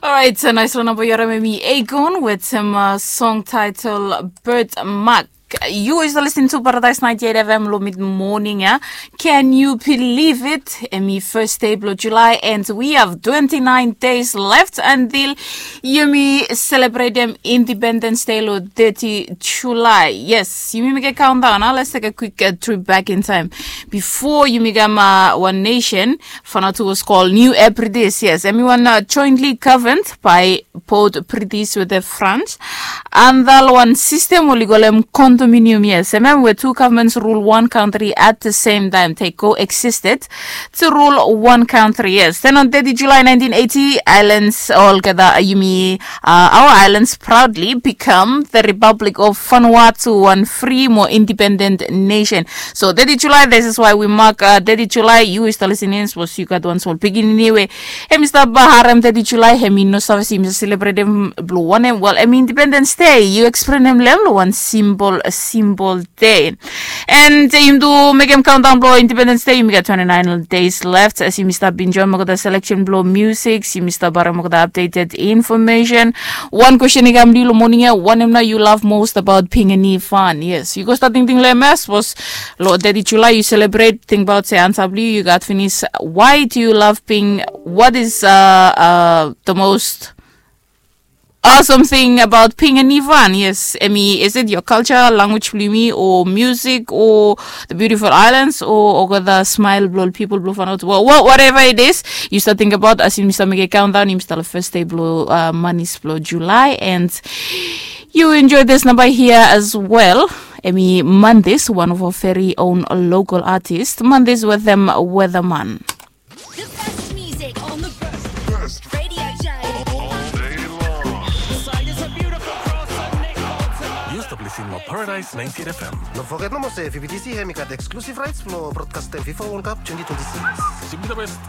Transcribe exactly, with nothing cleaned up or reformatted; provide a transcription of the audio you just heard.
Alright, so naisfala namba yu harim em i Akon wetem song title Birthmark. Yu i stap listening to Paradise ninety eight F M lo mid morning ya. Can you believe it? Em i first day blo July and we have twenty nine days left until yumi celebratem Independence Day lo thirty July. Yes, yumi mekem countdown. Let's take a quick uh, trip back in time. Before yumi kam uh, one nation, Vanuatu was called New Hebrides. Yes, em i wan uh, jointly governed by both British wetem France. Antap wan system oli kolem condominium, yes, em we two governments rule one country at the same time. They coexisted to rule one country, yes. Then on thirty July nineteen eighty, islands olgeta yumi uh, our islands proudly become the Republic of Vanuatu, one free, more independent nation. So thirty July, this is why we mark uh, thirty July. Yu i stap listening, sapos yu gat wan smol pikinini we hem i stap uh, harem thirty July, hem i no save se yumi stap celebratem blo wanem. Well, em Independence Day, yu explaintem lo hem lo wan simple, simple day. And uh, yumi tu mekem countdown blo Independence Day, yumi gat twenty nine days left. As yumi stap enjoy olgeta selection blo music, yumi stap harem olgeta updated information. Wan question i kam lo yu lo morning ya, wanem nao yu love most about being a Nivan? Yes, yu go stap tingting lo hem ya, sapos lo thirty July yu celebrate, tingbaot se ansa blo yu yu gat finis. Why do you love being, what is uh, uh, the most awesome thing about being a Nivan? Yes, em i, is it your culture, language blo yumi, o music, o the beautiful islands, o olgeta smile blo ol pipol blo Vanuatu? Well, well, whatever it is, yu stap tingbaot as yumi stap mekem countdown, yumi stap lo first day blo uh, manis blo July, and yu enjoy this namba hia as well. Em i Mondays, one of our very own local artist, Mondays wetem Weatherman. The best music on the best radio show. All day long. Yu stap listening lo Paradise ninety eight F M. No foget nomo se V B T C hem i gat exclusive rights blo broadcastem FIFA World Cup twenty twenty six. Yumi the best.